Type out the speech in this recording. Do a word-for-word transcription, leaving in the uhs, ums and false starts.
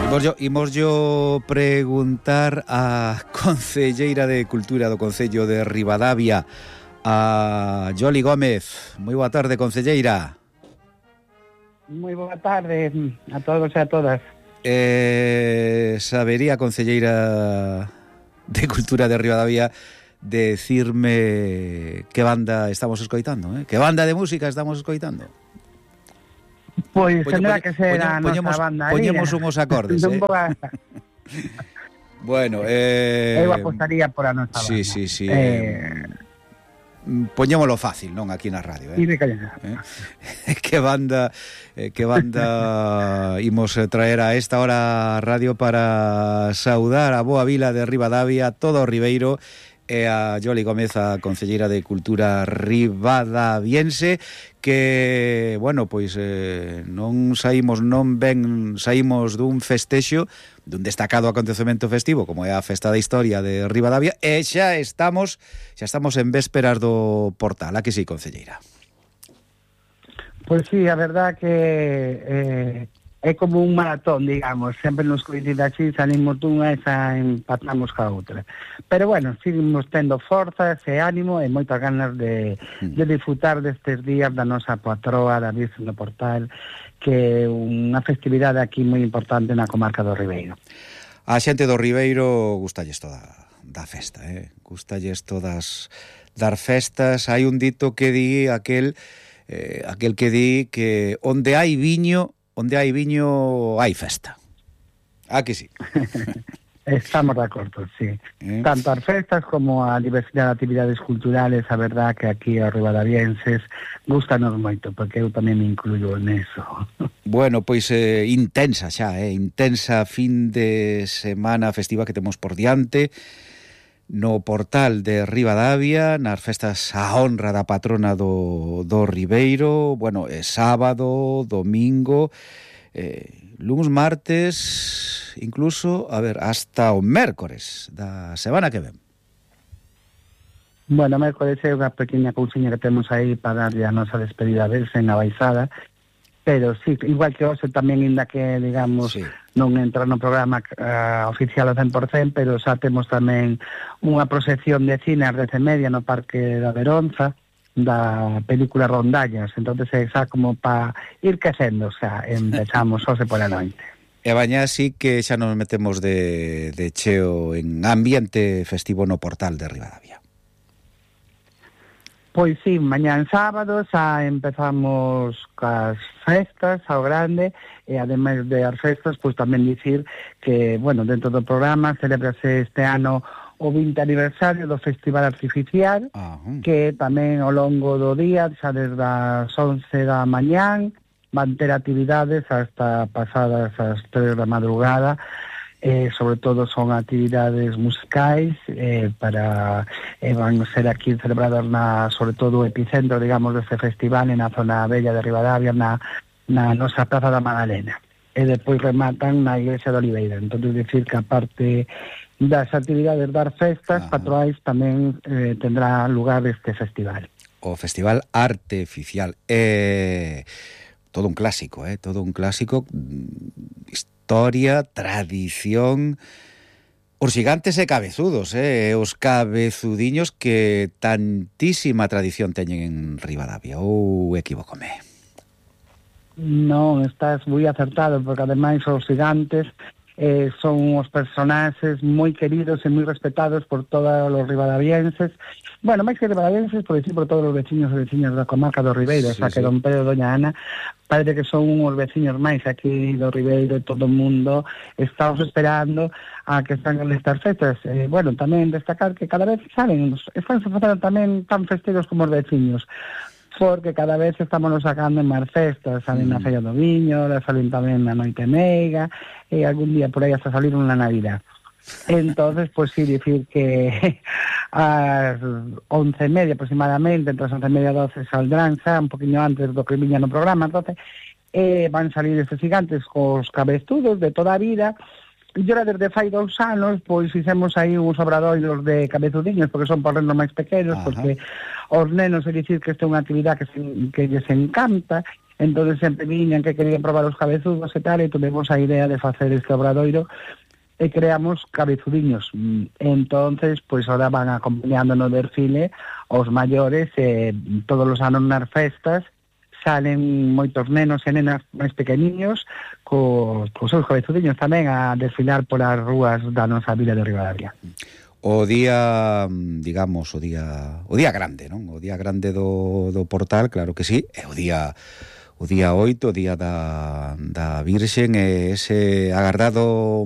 Imos, imos yo preguntar a concelleira de Cultura do Concello de Ribadavia, a Yoli Gómez. Moi boa tarde, concelleira. Moi boa tarde a todos e a todas. Eh, sabería, concelleira de Cultura de Ribadavia, decirme que banda estamos escoitando, eh? Que banda de música estamos escoitando? Pois Poño, tendrá poño, que ser a poñemos, nosa banda. Poñemos unhos acordes, eh? Bueno, eh... eu apostaría por a nosa sí, banda. Sí, sí, sí. Eh... Poñémolo fácil, non, aquí na radio, eh? eh? Que banda eh, que banda imos traer a esta hora a radio para saudar a boa vila de Ribadavia, todo o Ribeiro, e a Yoli Gómez, a concelleira de Cultura ribadaviense, que, bueno, pois eh, non saímos, non ben saímos dun festexo, dun destacado acontecemento festivo, como é a Festa da Historia de Ribadavia, e xa estamos, xa estamos en vésperas do Portal, a que sí, concelleira? Pois sí, a verdad que eh, é como un maratón, digamos, sempre nos coincide así, salimos dunha e xa empatamos ca outra. Pero bueno, seguimos tendo forzas e ánimo e moitas ganas de, de disfrutar destes días da nosa patroa, da Virgen do Portal, que é unha festividade aquí moi importante na comarca do Ribeiro. A xente do Ribeiro gustalles toda da festa, eh? Gustalles todas dar festas. Hai un dito que di aquel, eh, aquel que di que onde hai viño, onde hai viño hai festa. Ah, que sí. Estamos de acordo, sí. ¿Eh? Tanto as festas como a diversidade de actividades culturales, a verdad que aquí os ribadavienses gustanos moito, porque eu tamén me incluyo neso. Bueno, pois eh, intensa xa, eh, intensa fin de semana festiva que temos por diante no Portal de Ribadavia, nas festas a honra da patrona do, do Ribeiro. Bueno, é sábado, domingo, eh, luns, martes, incluso, a ver, hasta o mércores da semana que ven. Bueno, mércores é unha pequena cousiña que temos aí para darlle a nosa despedida a verse na baixada, pero sí, igual que hoxe tamén, inda que, digamos, sí, non entra no programa uh, oficial ao cen por cento, pero xa temos tamén unha proxección de cine ás dez e media no Parque da Veronza, da película Rondallas, entonces é xa como para ir quecendo, xa empezamos hoxe pola noite. E bañá sí que xa nos metemos de, de cheo en ambiente festivo no Portal de Ribadavia. Pois sí, mañán sábado xa empezamos cas festas ao grande, e ademais de as festas, pois tamén dicir que, bueno, dentro do programa celebrase este ano o vinte aniversario do Festival Artificial, uh-huh, que tamén ao longo do día, xa desde as once da mañán, van ter actividades hasta pasadas as tres da madrugada. Eh, sobre todo son actividades musicais, eh, para eh, van ser aquí celebradas na, sobre todo o epicentro, digamos, deste festival, na zona bella de Ribadavia, na, na nosa Praza da Magdalena, e depois rematan na Igrexa de Oliveira. Entón, decir que aparte das actividades das festas, ah, patroais, tamén eh, tendrá lugar este festival. O Festival Artificial, eh, todo un clásico, eh, todo un clásico, historia, tradición, os gigantes e cabezudos, eh, os cabezudiños que tantísima tradición teñen en Ribadavia, ou equivócome? Non, estás moi acertado, porque ademais os gigantes eh, son os personaxes moi queridos e moi respetados por todos os ribadavienses. Bueno, máis que ribadavienses, por decir, por todos os veciños e veciñas da comarca do Ribeiro, sí, o sea, que sí, don Pedro e doña Ana, parece que son uns veciños máis aquí do Ribeiro, e todo o mundo estamos esperando a que están nestas festas. Eh, bueno, tamén destacar que cada vez saben, están facendo tamén tan festeiros como os veciños, porque cada vez estamos sacando en máis festas, salen mm. na Feira do Viño, salen tamén na Noite Meiga, e algún día por aí hasta salir unha Navidad. Entonces, pues sí, decir que a las once e media aproximadamente, entre as once e media e doce saldrán xa, un poquinho antes do que viña no programa, entonces eh, van salir estes gigantes cos cabezudos de toda a vida. E ora desde fai dous anos, pois fixemos aí uns obradoiros de cabezudiños, porque son por nenos máis pequenos, ajá, porque os nenos, é dicir que esta é unha actividade que, se, que lles encanta, entonces sempre viñan que querían probar os cabezudos e tal, e tuvemos a idea de facer este obradoiro e creamos cabezudiños. Entonces, pois pues, ahora van acompañando no desfile os maiores, e todos os anos nas festas salen moitos nenos e nenas máis pequeniños cos, cos seus cabezudiños tamén a desfilar polas rúas da nosa vila de Ribadavia. O día, digamos, o día o día grande, non? O día grande do, do portal, claro que sí, é o día o día oito, o día da, da Virxen, e ese agardado